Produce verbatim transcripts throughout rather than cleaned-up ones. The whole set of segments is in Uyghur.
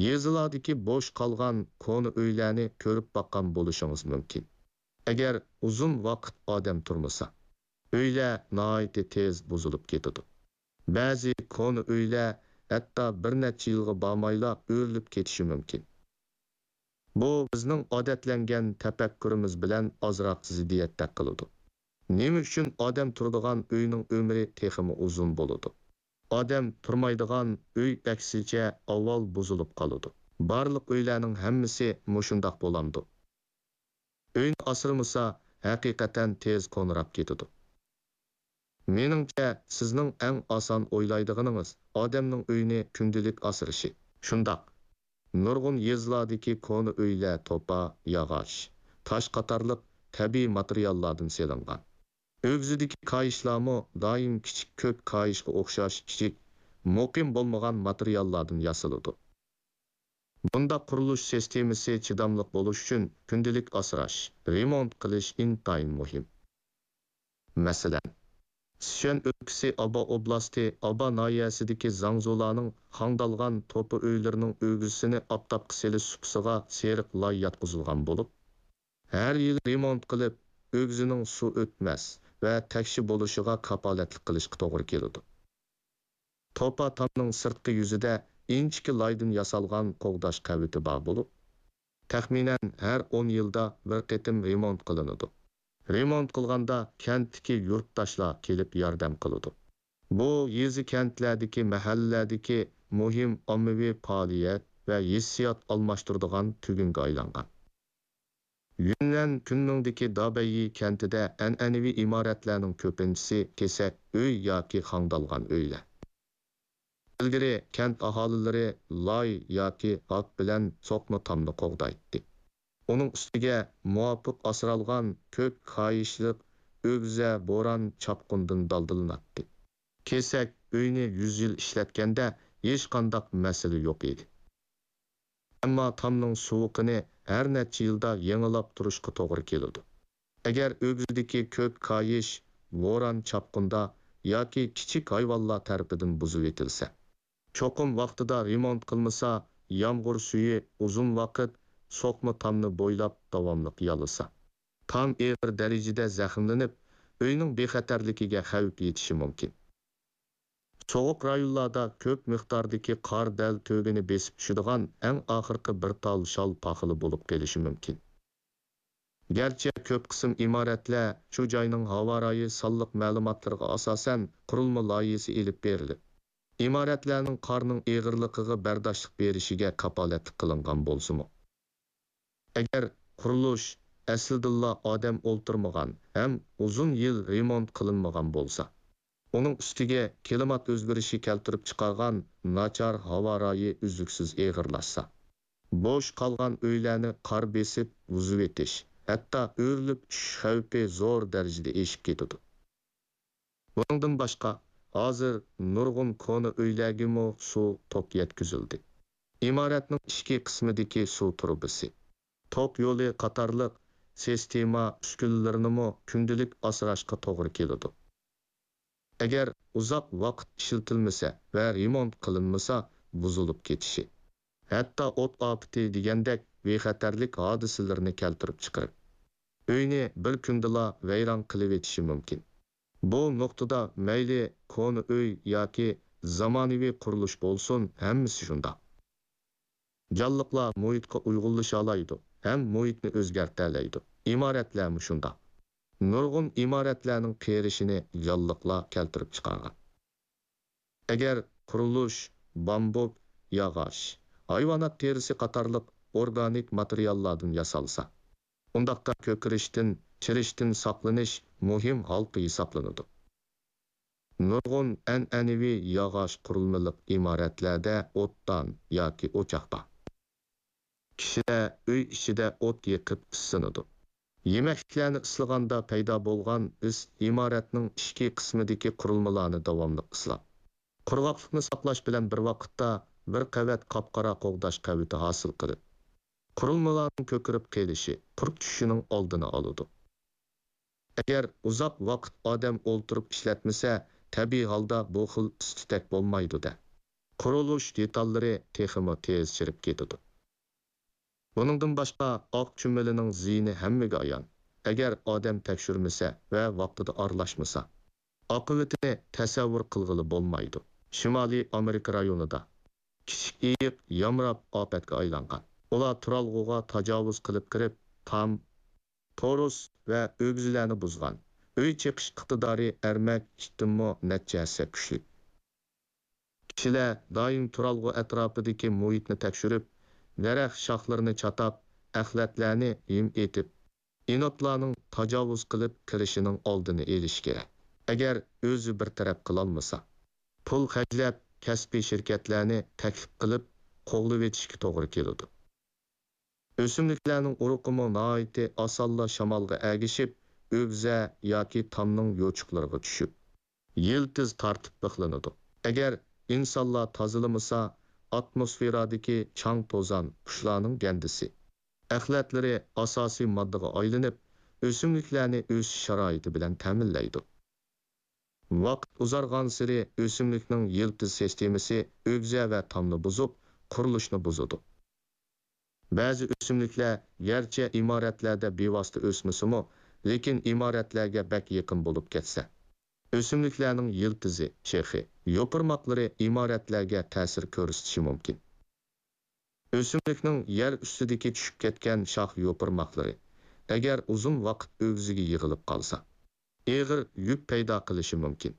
يېزىلاردىكى بوش قالغان كونا ئۆيلەرنى كۆرۈپ باققان بولۇشىڭىز مۇمكىن. ئەگەر ئۇزۇن ۋاقىت ئادەم تۇرمىسا، ئۆيلەر ناھايىتى تېز بۇزۇلۇپ كېتىدۇ. بەزى كونا ئۆيلەر ھەتتا بىر نەچچە يىلغا بارمايلا ئۆرۈلۈپ كېتىشى مۇمكىن. بۇ بىزنىڭ ئادەتلەنگەن تەپەككۇرىمىز بىلەن ئازراق زىددىيەتتەك قىلىدۇ. نېمە ئۈچۈن ئادەم تۇرىدىغان ئۆينىڭ ئۆمرى تېخىمۇ ئۇزۇن بولىدۇ؟ ئادەم تۇرمايدىغان ئۆي ئەكسىچە ئاۋۋال بۇزۇلۇپ قالىدۇ. بارلىق ئۆيلەرنىڭ ھەممىسى مۇشۇنداق بولامدۇ؟ ئۆينى ئاسرىمىسا، ھەقىقەتەن تېز كونىراپ كېتىدۇ. مېنىڭچە، سىزنىڭ ئەڭ ئاسان ئويلايدىغىنىڭىز ئادەمنىڭ ئۆيىنى كۈندىلىك ئاسرىشى. شۇنداق، نۇرغۇن يېزىلاردىكى كونا ئۆيلەر توپا، ياغاچ، تاش قاتارلىق تەبىئىي ماتېرىياللاردىن سېلىنغان. ئۆگزىدىكى كايىشلارمۇ دائىم كىچىك كۆك كايىشقا ئوخشاش كىچىك، مۇقىم بولمىغان ماتېرىياللاردىن ياسىلىدۇ. بۇنداق قۇرۇلۇش سىستېمىسى چىداملىق بولۇش ئۈچۈن كۈندىلىك ئاسراش، رېمونت قىلىش ئىنتايىن مۇھىم. مەسىلەن، سىچۈەن ئۆلكىسى ئابا ئوبلاستى ئابا ناھىيەسىدىكى زاڭزۇلارنىڭ خاڭدالغان توپا ئۆيلىرىنىڭ ئۆگزىسىنى ئاپتاپقا سېلىش سۇپىسىغا سېرىق لاي ياتقۇزۇلغان بولۇپ، ھەر يىلى رېمونت قىلىپ، ئۆگزىنىڭ سۇ ئۆتمەس ۋە تەكشى بولۇشىغا كاپالەتلىك قىلىشقا توغرا كېلىدۇ. توپا تامنىڭ سىرتقى يۈزىدە ئىنچىكە لايدىن ياسالغان قوغداش قەۋىتى بار بولۇپ، تەخمىنەن ھەر ئون يىلدا بىر قېتىم رېمونت قىلىنىدۇ. رېمونت قىلغاندا كەنتتىكى يۇرتداشلار كېلىپ ياردەم قىلىدۇ. بۇ يېزا كەنتلەردىكى، مەھەللىلەردىكى مۇھىم ئاممىۋى پائالىيەت ۋە ھېسسىيات ئالماشتۇرىدىغان تۈگۈنگە ئايلانغان. يۈننەن كۈنمىڭدىكى دابەييى كەنتىدە ئەنئەنىۋى ئىمارەتلەرنىڭ كۆپىنچىسى كېسەك ئۆي ياكى خاڭدالغان ئۆيلەر. ئىلگىرى كەنت ئاھالىلىرى لاي ياكى ھاك بىلەن سوقما تامنى قوغدايتتى. ئۇنىڭ ئۈستىگە مۇۋاپىق ئاسرالغان كۆك كايىشلىق ئۆگزە بوران، چاپقۇندىن دالدىلىناتتى. كېسەك ئۆينى يۈز يىل ئىشلەتكەندە ھېچقانداق مەسىلە يوق ئىدى. ئەمما تامنىڭ سوغۇقىنى ھەر نەچچە يىلدا يېڭىلاپ تۇرۇشقا توغرا كېلىدۇ. ئەگەر ئۆگزىدىكى كۆك كايىش بوران، چاپقۇندا ياكى كىچىك ھايۋانلار تەرىپىدىن بۇزۇۋېتىلسە، چوقۇم ۋاقتىدا رېمونت قىلمىسا، يامغۇر سۈيى ئۇزۇن ۋاقىت سوقما تامنى بويلاپ داۋاملىق يالىسا، تام ئېغىر دەرىجىدە زەخىملىنىپ، ئۆينىڭ بىخەتەرلىكىگە خەۋپ يېتىشى مۇمكىن. سوغۇق رايونلاردا كۆپ مىقداردىكى قار دەل تۆگىنى بېسىپ چۈشىدىغان ئەڭ ئاخىرقى بىر تال شال پاخىلى بولۇپ قېلىشى مۇمكىن. گەرچە كۆپ قىسىم ئىمارەتلەر شۇ جاينىڭ ھاۋا رايى سانلىق مەلۇماتلىرىغا ئاساسەن قۇرۇلما لايىھەسى ئېلىپ بېرىلىپ، ئىمارەتلەرنىڭ قارنىڭ ئېغىرلىقىغا بەرداشلىق بېرىشىگە كاپالەتلىك قىلىنغان بولسىمۇ، ئەگەر قۇرۇلۇش ئەسلىدىنلا ئادەم ئولتۇرمىغان ھەم ئۇزۇن يىل رېمونت قىلىنمىغان بولسا، ئۇنىڭ ئۈستىگە كىلىمات ئۆزگىرىشى كەلتۈرۈپ چىقارغان ناچار ھاۋا رايى ئۈزلۈكسىز ئېغىرلاشسا، بوش قالغان ئۆيلەرنى قار بېسىپ بۇزۇۋېتىش، ھەتتا ئۆرۈلۈپ چۈشۈش خەۋپى زور دەرىجىدە ئېشىپ كېتىدۇ. بۇنىڭدىن باشقا، ھازىر نۇرغۇن كونا ئۆيلەرگىمۇ سۇ توك يەتكۈزۈلدى. ئىمارەتنىڭ ئىچكى قىسمىدىكى سۇ تۇرۇبىسى، توك يولى قاتارلىق سىستېما ئۈسكۈنىلىرىنىمۇ كۈندىلىك ئاسراشقا توغرا كېلىدۇ. ئەگەر ئۇزاق ۋاقىت ئىشلىتىلمىسە ۋە رېمونت قىلىنمىسا، بۇزۇلۇپ كېتىشى، ھەتتا ئوت ئاپىتى دېگەندەك بىخەتەرلىك ھادىسىلىرىنى كەلتۈرۈپ چىقىرىپ، ئۆينى بىر كۈندىلا ۋەيران قىلىۋېتىشى مۇمكىن. بۇ نۇقتىدا مەيلى كونا ئۆي ياكى زامانىۋى قۇرۇلۇش بولسۇن، ھەممىسى شۇنداق. جانلىقلار مۇھىتقا ئۇيغۇنلىشالايدۇ ھەم مۇھىتنى ئۆزگەرتەلەيدۇ. ئىمارەتلەرمۇ شۇنداق. نۇرغۇن ئىمارەتلەرنىڭ قېرىشىنى جانلىقلار كەلتۈرۈپ چىقارغان. ئەگەر قۇرۇلۇش بامبۇك، ياغاچ، ھايۋانات تېرىسى قاتارلىق ئورگانىك ماتېرىياللاردىن ياسالسا، ئۇنداقتا كۆكىرىشتىن، چىرىشتىن ساقلىنىش مۇھىم ھالقا ھېسابلىنىدۇ. نۇرغۇن ئەنئەنىۋى ياغاچ قۇرۇلمىلىق ئىمارەتلەردە ئوتتان ياكى ئوچاق بار. كىشىلەر ئۆي ئىچىدە ئوت يېقىپ ئىسسىنىدۇ. يېمەكلىكلەرنى ئىسلىغاندا پەيدا بولغان ئىس ئىمارەتنىڭ ئىچكى قىسمىدىكى قۇرۇلمىلارنى داۋاملىق ئىسلاپ، قۇرغاقلىقنى ساقلاش بىلەن بىر ۋاقىتتا بىر قەۋەت قاپقارا قوغداش قەۋىتى ھاسىل قىلىپ، قۇرۇلمىلارنىڭ كۆكىرىپ قېلىشى، قۇرۇپ چۈشۈشىنىڭ ئالدىنى ئالىدۇ. ئەگەر ئۇزاق ۋاقىت ئادەم ئولتۇرۇپ ئىشلەتمىسە، تەبىئىي ھالدا بۇ خىل ئىس-تۈتەك بولمايدۇ-دە. قۇرۇلۇش دېتاللىرى تېخىمۇ تېز چىرىپ كېتىدۇ. بۇنىڭدىن باشقا، ئاق چۈمۈلىنىڭ زىيىنى ھەممىگە ئايان. ئەگەر ئادەم تەكشۈرمىسە ۋە ۋاقتىدا ئارىلاشمىسا، ئاقىۋىتىنى تەسەۋۋۇر قىلغىلى بولمايدۇ. شىمالىي ئامېرىكا رايونىدا كىچىك ئېيىق يامراپ ئاپەتكە ئايلانغان. ئۇلار تۇرالغۇغا تاجاۋۇز قىلىپ كىرىپ، تام، تورۇس ۋە ئۆگزىلەرنى بۇزغان. ئۆي چېقىش ئىقتىدارى ئەرمەك ئىتتىنمۇ نەچچە ھەسسە كۈچلۈك. كىشىلەر دائىم تۇرالغۇ ئەتراپىدىكى مۇھىتنى تەكشۈرۈپ، دەرەخ شاخلىرىنى چاتاپ، ئەخلەتلەرنى ھىم ئېتىپ، ئېنوتلارنىڭ تاجاۋۇز قىلىپ كىرىشىنىڭ ئالدىنى ئېلىشى كېرەك. ئەگەر ئۆزى بىر تەرەپ قىلالمىسا، پۇل خەجلەپ، كەسپىي شىركەتلەرنى تەكلىپ قىلىپ قوغلىۋېتىشكە توغرا كېلىدۇ. ئۆسۈملۈكلەرنىڭ ئۇرۇقىمۇ ناھايىتى ئاسانلا شامالغا ئەگىشىپ، ئۆگزە ياكى تامنىڭ يوچۇقلىرىغا چۈشۈپ، يىلتىز تارتىپ بىخلىنىدۇ. ئەگەر ئىنسانلار تازىلىمىسا، ئاتموسفېرادىكى چاڭ-توزان، قۇشلارنىڭ گەندىسى، ئەخلەتلىرى ئاساسىي ماددىغا ئايلىنىپ، ئۆسۈملۈكلەرنى ئۆسۈش شارائىتى بىلەن تەمىنلەيدۇ. ۋاقىت ئۇزارغانسېرى ئۆسۈملۈكنىڭ يىلتىز سىستېمىسى ئۆگزە ۋە تامنى بۇزۇپ، قۇرۇلۇشنى بۇزىدۇ. بەزى ئۆسۈملۈكلەر گەرچە ئىمارەتلەردە بىۋاسىتە ئۆسمىسىمۇ، لېكىن ئىمارەتلەرگە بەك يېقىن بولۇپ كەتسە، ئۆسۈملۈكلەرنىڭ يىلتىزى، شېخى، يوپۇرماقلىرى ئىمارەتلەرگە تەسىر كۆرسىتىشى مۇمكىن. ئۆسۈملۈكنىڭ يەر ئۈستىدىكى چۈشۈپ كەتكەن شاخ يوپۇرماقلىرى، ئەگەر ئۇزۇن ۋاقىت ئۆگزىگە يىغىلىپ قالسا، ئېغىر يۈك پەيدا قىلىشى مۇمكىن.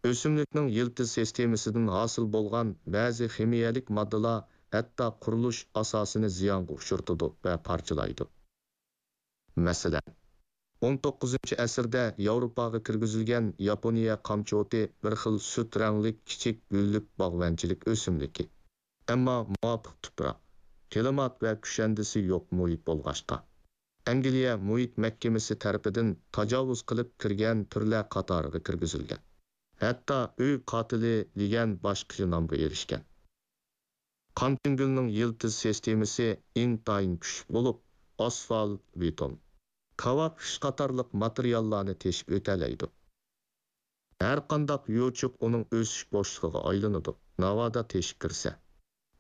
ئۆسۈملۈكنىڭ يىلتىز سىستېمىسىدىن ھاسىل بولغان بەزى خىمىيەلىك ماددىلار ھەتتا قۇرۇلۇش ئاساسىنى زىيانغا ئۇچرىتىدۇ ۋە پارچىلايدۇ. مەسىلەن، ئون توققۇزىنچى ئەسىردە ياۋروپاغا كىرگۈزۈلگەن ياپونىيە قامچوتى بىر خىل سۈت رەڭلىك كىچىك گۈللۈك باغۋەنچىلىك ئۆسۈملۈكى. ئەمما مۇۋاپىق تۇپراق، كىلىمات ۋە كۈشەندىسى يوق مۇھىت بولغاچقا، ئەنگلىيە مۇھىت مەھكىمىسى تەرىپىدىن تاجاۋۇز قىلىپ كىرگەن تۈرلەر قاتارىغا كىرگۈزۈلگەن. ھەتتا ئۆي قاتىلى دېگەن باشقىچە نامغا ئېرىشكەن. قانتىنگۈلنىڭ يىلتىز سىستېمىسى ئىنتايىن كۈچلۈك بولۇپ، ئاسفالت، بېتون، كاۋاك خىش قاتارلىق ماتېرىياللارنى تېشىپ ئۆتەلەيدۇ. ھەرقانداق يوچۇق ئۇنىڭ ئۆسۈش بوشلۇقىغا ئايلىنىدۇ، ناۋادا تېشىپ كىرسە.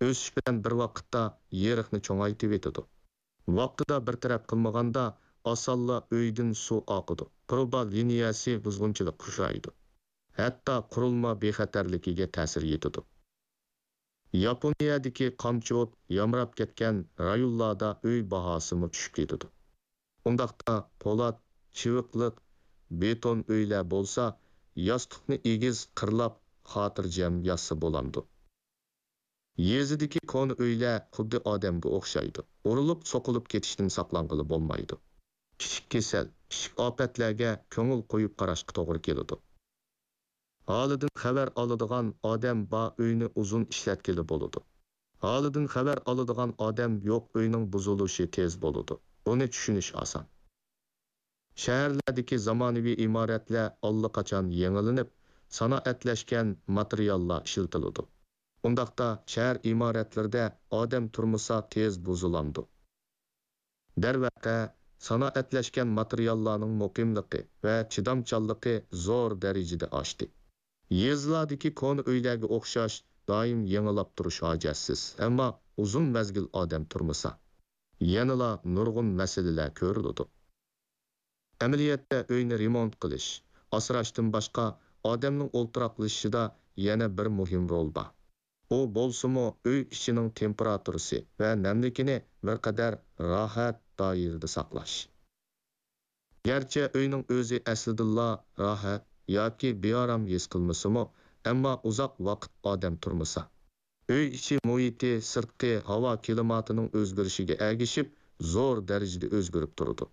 ئۆسۈش بىلەن بىر ۋاقىتتا يېرىقنى چوڭايتىۋېتىدۇ. ۋاقتىدا بىر تەرەپ قىلمىغاندا، ئاسانلا ئۆيدىن سۇ ئاقىدۇ، تۇرۇبا لىنىيەسى بۇزغۇنچىلىققا ئۇچرايدۇ، ھەتتا قۇرۇلما بىخەتەرلىكىگە تەسىر يېتىدۇ. ياپونىيەدىكى قامچوت يامراپ كەتكەن رايونلاردا ئۆي باھاسىمۇ چۈشۈپ كېتىدۇ. ئۇنداقتا پولات، چىۋىقلىق، بېتون ئۆيلەر بولسا، ياستۇقنى ئېگىز قىرلاپ، خاتىرجەم ياتسا بولامدۇ؟ يېزىدىكى كونا ئۆيلەر خۇددى ئادەمگە ئوخشايدۇ. ئۇرۇلۇپ، سوقۇلۇپ كېتىشتىن ساقلانغىلى بولمايدۇ. كىچىك كېسەل، كىچىك ئاپەتلەرگە كۆڭۈل قويۇپ قاراشقا توغرا كېلىدۇ. ھالىدىن خەۋەر ئالىدىغان ئادەم بار ئۆينى ئۇزۇن ئىشلەتكىلى بولىدۇ. ھالىدىن خەۋەر ئالىدىغان ئادەم يوق ئۆينىڭ بۇزۇلۇشى تېز بولىدۇ. بۇنى چۈشىنىش ئاسان. شەھەرلەردىكى زامانىۋى ئىمارەتلەر ئاللىقاچان يېڭىلىنىپ، سانائەتلەشكەن ماتېرىياللار ئىشلىتىلىدۇ. ئۇنداقتا شەھەر ئىمارەتلىرىدە ئادەم تۇرمىسا تېز بۇزۇلامدۇ؟ دەرۋەقە، سانائەتلەشكەن ماتېرىياللارنىڭ مۇقىملىقى ۋە چىدامچانلىقى زور دەرىجىدە ئاشتى. يېزىلاردىكى كونا ئۆيلەرگە ئوخشاش دائىم يېڭىلاپ تۇرۇش ھاجەتسىز، ئەمما ئۇزۇن مەزگىل ئادەم تۇرمىسا، يەنىلا نۇرغۇن مەسىلىلەر كۆرۈلىدۇ. ئەمەلىيەتتە ئۆينى رېمونت قىلىش، ئاسراشتىن باشقا، ئادەمنىڭ ئولتۇراقلىشىشىدا يەنە بىر مۇھىم رول بار. ئۇ بولسىمۇ ئۆي ئىچىنىڭ تېمپېراتۇرىسى ۋە نەملىكىنى بىر قەدەر راھەت دائىرىدە ساقلاش. گەرچە ئۆينىڭ ئۆزى ئەسلىدىنلا راھەت ياكى بىئارام ھېس قىلمىسىمۇ، ئەمما ئۇزاق ۋاقىت ئادەم تۇرمىسا، ئۆي ئىچى مۇھىتى سىرتقى ھاۋا كىلىماتىنىڭ ئۆزگىرىشىگە ئەگىشىپ زور دەرىجىدە ئۆزگىرىپ تۇرىدۇ.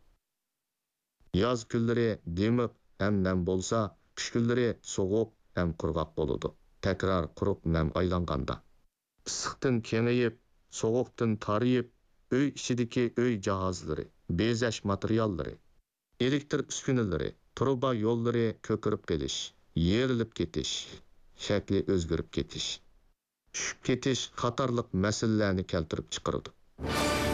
ياز كۈنلىرى دىمىق ھەم نەم بولسا، قىش كۈنلىرى سوغۇق ھەم قۇرغاق بولىدۇ. تەكرار قۇرۇق نەم ئايلانغاندا، ئىسسىقتىن كېڭىيىپ، سوغۇقتىن تارىيىپ، ئۆي ئىچىدىكى ئۆي جاھازلىرى، بېزەش ماتېرىياللىرى، ئېلېكتىر ئۈسكۈنىلىرى، تۇرۇبا يوللىرى كۆكىرىپ قېلىش، يېرىلىپ كېتىش، شەكلى ئۆزگىرىپ كېتىش، چۈشۈپ كېتىش قاتارلىق مەسىلىلەرنى كەلتۈرۈپ چىقىرىدۇ.